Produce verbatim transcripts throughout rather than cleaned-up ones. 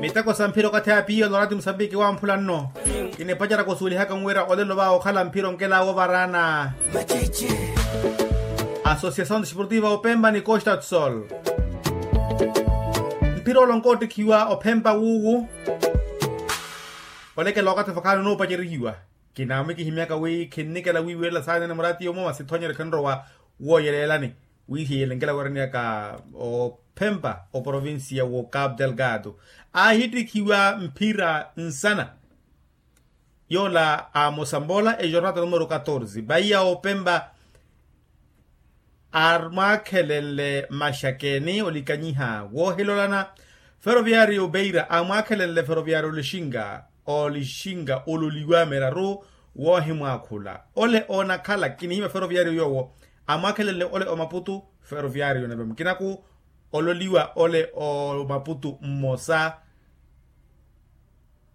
Iteko sa mphira okathi apiya olorati musambiki wamphula nno. Kinipaceraka osuwelihaka nwira olelo va okhala mphira onkela wovaraana. Asosiasaw desportiva opempa ni costa do sol. Mphira olonka ottikhiwa ophempa wuwu. Olekela okathi vakhaani onuupacerihiwa. Kinaamwikihimyaka wi khinnikela wiiwelela saanene murati yomo masi thonyeryo khinrowa wooyeleelani. Wi hiyelenkela wereniyaka ophempa oprovincia wo capu delgado. Aahittikhiwa mphira nsana yoola a mosambola ejornata numero catorze vaiya ophempa. Amwaakhelenle maxakeni olikanyiha woohilolana. Feroviario beira amwaakhelenle feroviario olixinga olixinga ololiwa miraru woohimwaakhula. Ole onakhala kinihimya feroviario yoowo amwaakhelenle ole omaputu feroviario nave mukinaku ololiwa ole omaputu mmosa.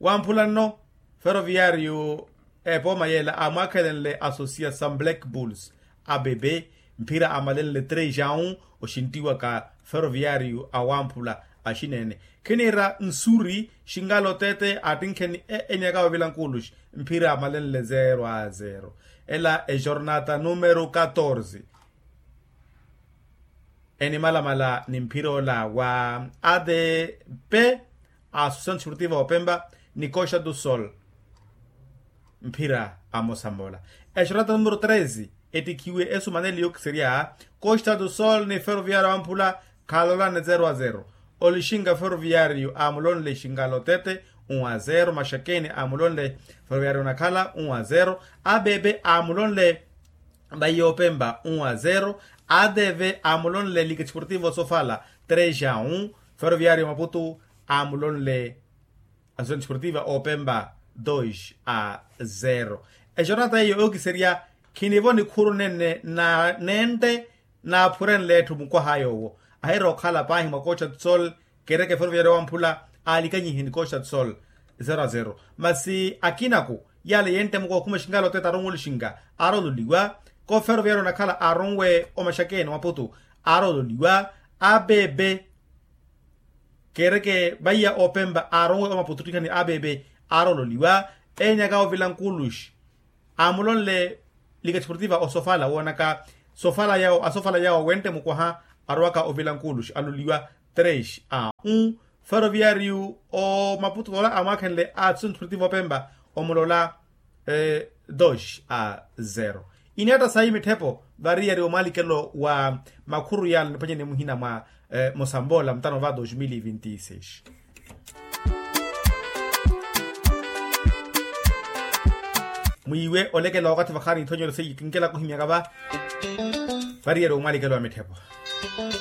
Wamphula nno feroviario epooma yeela amwaakhelenle asosiya sa black bulls abebe mphira amalenle três a um. Oxinttiwaka feroviario awamphula axineene khiniira nsuri xingala oteete attinkheni e enyaka ovila nkuluxi mphira amalenle zero a zero. Ela ejornata numero catorze enimalamala ni mphira ola wa adp. Associação desportiva opempa ni costa do sol mphira amosambola. Exorata numero treze ettikhiwe esumaneli yookiserya costa do sol ni ferroviario amphula khalolane zero a zero. Olixinga ferroviario amulonle xingala otete um a zero maxakeni amulonle ferroviario onakhala um a zero. Abebe amulonle vaiya opempa um a zero. Adeve amulonle liga desportiva osofala três a um. Ferroviario maputu amulonle associação desportiva opempa dois a zero. Exornata eyo yookiserya khinivo nikhuru nenne na nente naaphurenle etthu mukwaha yoowo. Ahira okhala paahi mwa costa do sol kereke ferroviario wamphula alikanyihe ni costa do sol zero a zero. Masi akinaku yale yentte mukwaha okhuma exingala otete aronwe olixinga aroololiwa ko ferroviario onakhala aronwe omaxakeni omaputu aroololiwa. Abebe kereke vaiya opempa aronwe omaputu ttikhani abebe aroololiwa. Enyaka ovila nkuluxi amulonle liga desportiva osofala woonaka sofala yawo asofala yawo wentte mukwaha arowaka ovila nkuluxi aloliwa três a um. Ferroviario omaputu ola amwaakhenle associação desportiva opempa omulola dois a zero. Ineetta sayi mitthepo variyari omwalikelo wa makhuru yala niphwanyene muhina mwa mosamboola mutano va dos mil e vinte e seis. Mwiiwe olekela wakathi vakhaani ithonyero seiye kinkela kuhimyaka va variyari omwalikelo wa mitthepo.